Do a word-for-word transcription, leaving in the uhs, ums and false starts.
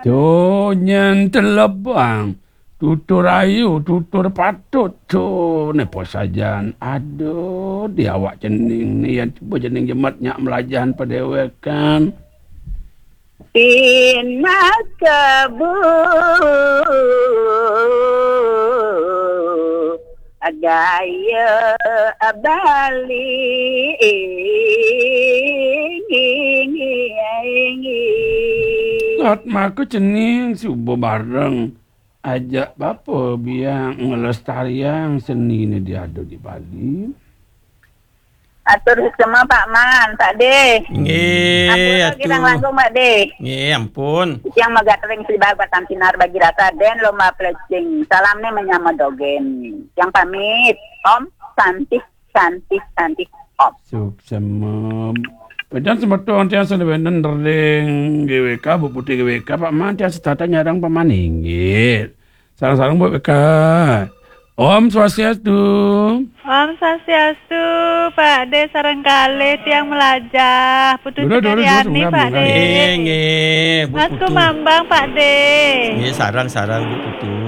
Tu nyen telebang. Tutur ayu, tutur patut tu ne posajan. Aduh, di awak cening ne yan cuba cening jemet nyak melajan padewekan. Pinaka bu gaya Bali. Kat maka cening suba bareng ajak bapa biang ngelestariang seni ne diada di Bali. Atur sesama Pak Man, Pak De. Nggih, ampun lagi atur. Nang langgung, Pak De. Nggih, ampun. Yang megat ring sibar batang sinar bagi rasa den lomba plecing. Salam ne menyama dogen. Yang pamit, Om Santi, Santi, Santi, Om. Suksema. Pejan semeton tiang sene wenen ring G W K, Bu Putih G W K, Pak Man tiang setata nyarang Pak Man inggih. Sareng-sareng buat beka. Om Swastiastu. Om Swastiastu, Pak De sareng kalih tiang melajah. Putu Dulu, dulu, dulu, Cekariani, semoga Pak De. Nggih, nggih, Bu Mas Putu. Kumambang, Pak De. Nggih, sareng-sareng, Bu Putu.